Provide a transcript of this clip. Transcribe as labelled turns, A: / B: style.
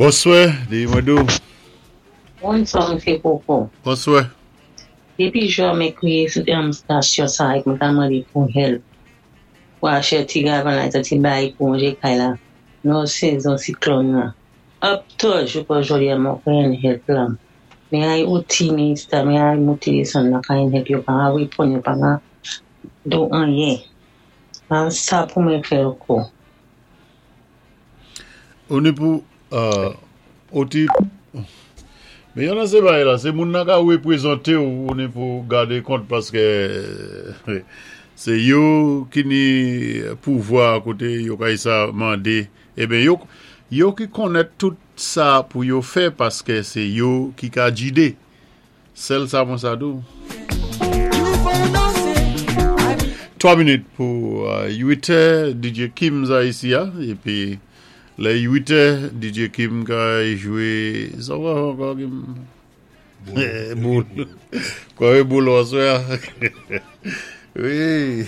A: Bonswè, di mwen dou.
B: Bonswa, Msye Koko.
A: Bonswè.
B: Dépi jou mwen kriye sou stasyon sa ek mwen ta mande pou help. Pou achte ti galvanizer, ti bay pou ranje kay la. Nou sezon siklòn nan. Up to jou pou jodi a mwen pran help la. Men ay outi minister, men ay mouti desann nan kay help, yo pa reponn, yo pa do anyen. An sa pou mwen fè ankò?
A: On ni pou oti. Men yon nan se bay la, sé moun nan ka wépwézanté ou, ou ni pou gadé kont paské sé yo ki ni pouvwa koté yo kay sa mandé. Eben yo, yo ki konnèt tout sa pou yo fè paské sé yo ki ka jidé. Sèl sa mwen sa dou. 3 minit pou 8 è, DJ Kim za isi a, épi lè 8 è, DJ Kim ka jwé, sa ou ka fè ankò, Kim? Boul. Kwa wé boul aswè a? Wi.